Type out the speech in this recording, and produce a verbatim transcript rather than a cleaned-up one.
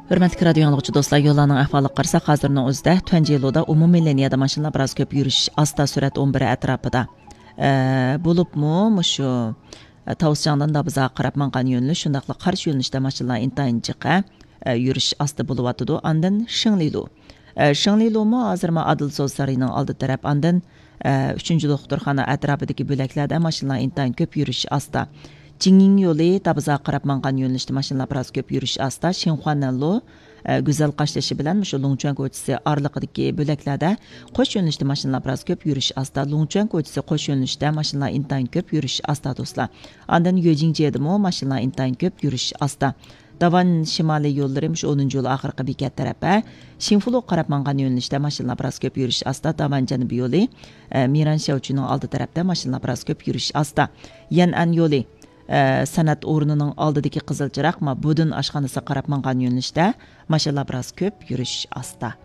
ھۆرمەتلىك رادىيو ئاڭلىغۇچى دوستلار، يوللارنىڭ ئەھۋالىغا قارىساق، ھازىرنىڭ ئۆزىدە تۇەنجى يولىدا ئومۇمىي لىنىيەدە ماشىنىلار بىراز كۆپ يۈرۈش ئاستا، سۈرئەت ئون بىر ئەتراپىدا. ئە، بولۇپمۇ مۇشۇ، ئە، تاۋۇسجاڭدىن دابىزاغا قاراپ ماڭغان يۆنىلىش، شۇنداقلا قارشى يۆنىلىشتە ماشىنىلار ئىنتايىن جىق، ئە، يۈرۈش ئاستا بولۇۋاتىدۇ. ئاندىن شىڭلىلۇ. ئە، شىڭلىلۇمۇ ھازىرمۇ ئادىل سودا سارىيىنىڭ ئالدى تەرەپ، ئاندىن، ئە، ئۈچىنچى دوختۇرخانا ئەتراپىدىكى بۆلەكلەردە ماشىنىلار ئىنتايىن كۆپ يۈرۈش ئاستا. جىڭيىڭ يولى دابىزاغا قاراپ ماڭغان يۆنىلىشتە ماشىنىلار بىراز كۆپ يۈرۈش ئاستا. شىنخۇانەنلۇ، ئە، گۈزەل قاشتېشى بىلەن مۇشۇ لۇڭچۈەن كوچىسى ئارىلىقىدىكى بۆلەكلەردە قوش يۆنىلىشتە ماشىنىلار بىراز كۆپ يۈرۈش ئاستا. لۇڭچۈەن كوچىسى قوش يۆنىلىشتە ماشىنىلار ئىنتايىن كۆپ يۈرۈش ئاستا، دوستلار. ئاندىن يۆجىڭجيېدىمۇ ماشىنىلار ئىنتايىن كۆپ يۈرۈش ئاستا. داۋان شىمالىي يوللىرى مۇشۇ ئونىنچى يول ئاخىرقى بېكەت تەرەپ، ھە، شىنفۇلۇغا قاراپ ماڭغان يۆنىلىشتە ماشىنىلار بىراز كۆپ يۈرۈش ئاستا. داۋان جەنۇبىي يولى، ئە، مىران شياۋچۈنىڭ ئالدى تەرەپتە ماشىنىلار بىراز كۆپ يۈرۈش ئاستا. يەنئەن يولى، ئە، سەنئەت ئورنىنىڭ ئالدىدىكى قىزىل چىراغ، ما، بۇدىن ئاشخانىسىغا قاراپ ماڭغان يۆنىلىشتە ماشىنىلار بىراز كۆپ يۈرۈش ئاستا.